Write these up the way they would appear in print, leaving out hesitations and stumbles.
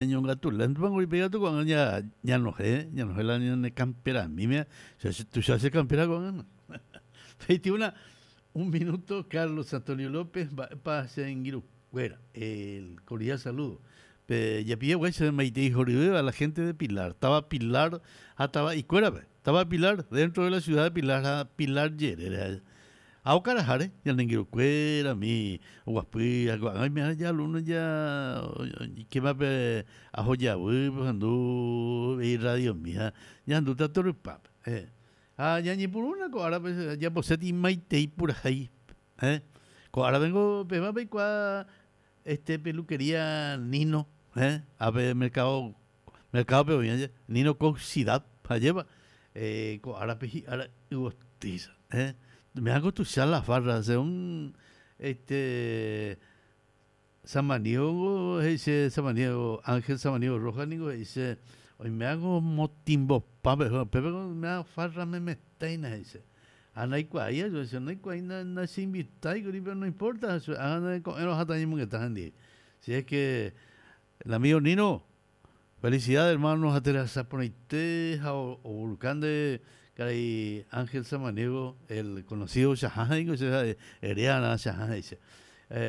Ñañongatu léntopa ipe katu ko'ág̃a ñanohẽ, ñanohẽ la ñane kamperamíme, tuicha che kampera ko'ág̃a. 21 un minuto Carlos Antonio López mba'épa che angirũkuéra el cordial saludo pe japilla guáicha maitei horyvéva la gente de Pilar, táva Pilar ha tava'ikuérape, táva Pilar dentro de la ciudad de Pilar ha Pilar jerére. Ha okaraháre ñane angirũkuéra umi oguapy ha ko'ág̃a oimeha ja alumno ja oikéma pe ahojavýpe ohendu irradiomi ha ñahendúta torypápe. Ha ñañepyrũna ko árape jajaposéta imaitei purahéi. Ko árape niko péva peikuaa este peluquería Nino, ápe mercado, mercado-pe oĩ aje, Nino Coxidad, ajépa ko árape hi'ára yvotýicha. Me'ãko tuicha la farra, según este Samaniego he'ise, Samaniego, Ángel Samaniego Rojas ningo he'ise oime'ãko motimbopápe, upépe oime'ã farra memetéina he'ise. Ha ndaikuaái aju, che ndaikuaái nacheinvitái kuri, pero no importa, ág̃a ko'ẽrõ aháta añemongeta hendive. Si es que el amigo Nino, felicidades hermano ha terasa porãite ha ovuruka nde karai Ángel Samaniego, el conocido Chahã he'íngo che ha'e eréarã Chahã he'i che.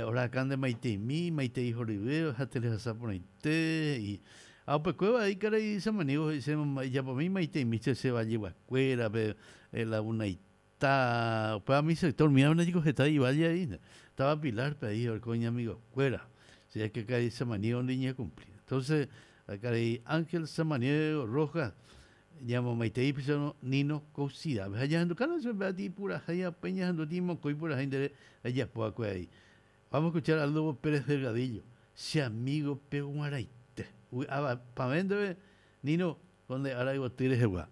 Orahaka nde maiteimi, maitei horyve ha terasa porãite he'i. Ha upekuéva he'i karai Samaniego he'i che ijapomi maiteimi che che valleguakuérape, Lagunaita, upéva mi sector mía niko heta ivalle aína, táva Pilar-pe aĩ oreko iñamigokuéra, si es que karai Samaniego ndiñekumpli. Entonces, karai Ángel Samaniego Rojas ñamomaitei picharõ Nino Caucidápe. Ha ñahendukána chupe ati purahéi ha upéi ñahendúti mokõi purahéi nde rejapo va'ekue aĩ. Vamos a escuchar a Lobo Pérez Delgadillo, Che amigo peguarãite. Vy'apavẽ ndéve Nino ko nde ára yvoty rehegua.